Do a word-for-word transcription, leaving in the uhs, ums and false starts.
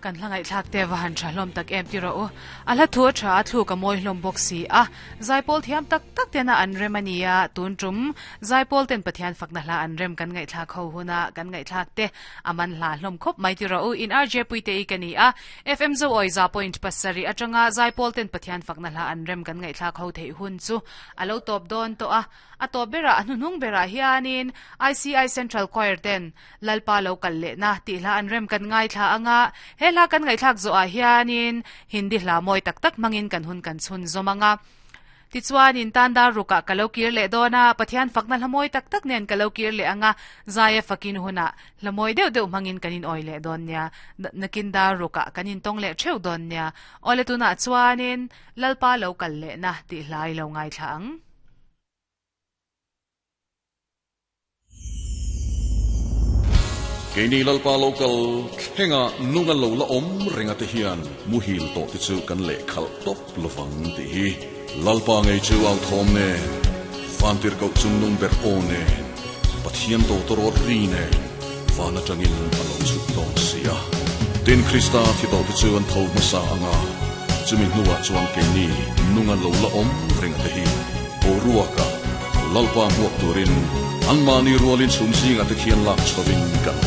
Kan hlangai thlak te wa han tha hlom tak em ti ro a hla thu tha thu ka moi hlom box si a zaipol thiam tak tak te na an remania tun tum zaipol ten pathian fakna hla an rem kan ngai thlak ho huna kan ngai thlak te aman hla hlom khop mai ti ro in R J puite i kani a F M zo oi za point pasari atanga zaipol ten pathian fakna hla an rem kan ngai thlak ho thei hun chu alo top don to a a to bera anunung bera hianin I C I Central Choir ten lalpa lo kal le na ti hla an rem kan ngai thla anga he hla kan ngai thlak zo a hianin hindi hla moi tak tak mangin kan hun kan chhun zomanga ti chuan in tanda ruka kalokir le dona pathian fakna hlamoi tak tak nen kalokir le anga zaya fakin huna hlamoi deuh deuh mangin kanin oi le don nia nakin da ruka kanin tong le theu don nia ole tuna chuanin lalpa lo kal le na ti hlai lo ngai thlang Keini lalpa local thenga nunga lo la om ringa te hian muhil to ti chu kan le khal top lovang ti hi lalpa ngei chu au thom ne fantir ko chung nung ber o ne pathian to torot ri ne vana tangin alo chu tong sia tin krista thi to ti chu an tho ma sa anga chumi nuwa chuan keini nunga lo la om ringa te hi boruaka lalpa muak turin an mani rualin chum singa te khian lak chovin kan